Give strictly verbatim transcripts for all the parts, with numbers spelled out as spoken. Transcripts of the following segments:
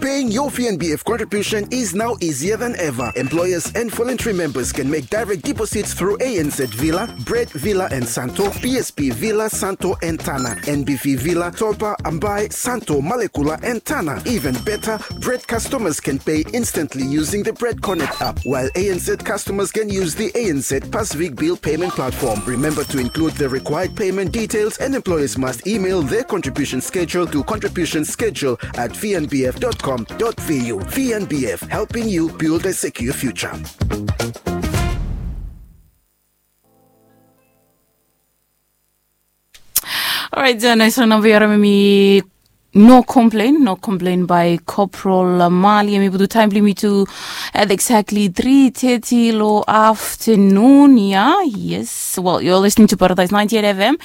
Paying your V N B F contribution is now easier than ever. Employers and voluntary members can make direct deposits through A N Z Villa, Bread Villa and Santo, P S P Villa, Santo and Tana, N B V Villa, Topa, Ambai, Santo, Malekula and Tana. Even better, Bread customers can pay instantly using the Bread Connect app, while A N Z customers can use the A N Z Pacific Bill Payment Platform. Remember to include the required payment details, and employers must email their contribution schedule to contribution schedule at V N B F dot com dot V U. V N B F, helping you build a secure future. Alright, uh, nice one, Navi Arami. No complain, no complain by Corporal Mali. Yumi putum taem blong yumi tu at exactly three thirty lo afternoon, yeah? Yes, well, you're listening to Paradise ninety-eight F M,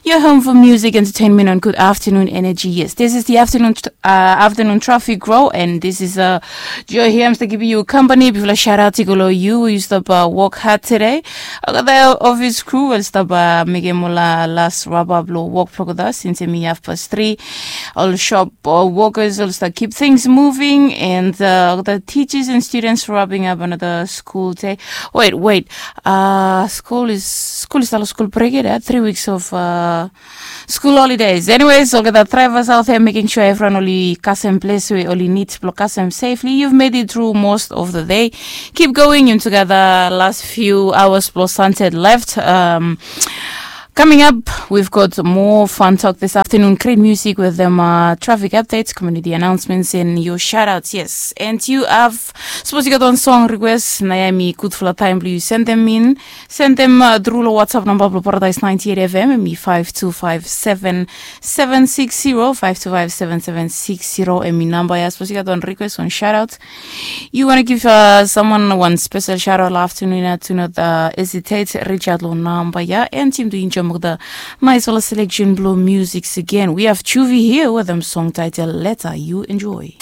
your home for music, entertainment, and good afternoon energy. Yes, this is the afternoon, uh, afternoon traffic row, and this is, uh, Joy here. I'm still giving you company. Bifala shout out i go lo yu, yu stap, uh, work hard today. Olgeta office crew, ol stap, uh, mekem ol, uh, last wrap up lo work blong olgeta since hemi hafpast tri. Ol shop, uh, workers, ol stap keep things moving, and, uh, the teachers and students wrapping up another school day. Wait, wait. Uh, school is, school is still school break, yeah? Three weeks of, uh, school holidays. Anyways, olgeta drivers out there, making sure evriwan oli kasem ples we oli nid blo kasem safely. You've made it through most of the day. Keep going into the last few hours blo sunset left. Um, coming up, we've got more fun talk this afternoon. Great music with them, uh, traffic updates, community announcements, and your shout outs. Yes, and yu have, sapos yu gat wan song request, nao ya hemi gudfala taem blo yu sendem in. Sendem, uh, tru lo WhatsApp namba blo Paradise ninety-eight F M, hemi five two five seven seven six zero, five two five seven seven six zero, hemi namba ya. Sapos yu gat wan request, wan shout out, yu wantem give, uh, someone wan special shout out lo afternoon ya, do not, uh, hesitate, reach out lo namba ya, and yumi tu enjoem olgeta naesfala selection blo music again. We have Juvie here with them song title Letter. You enjoy.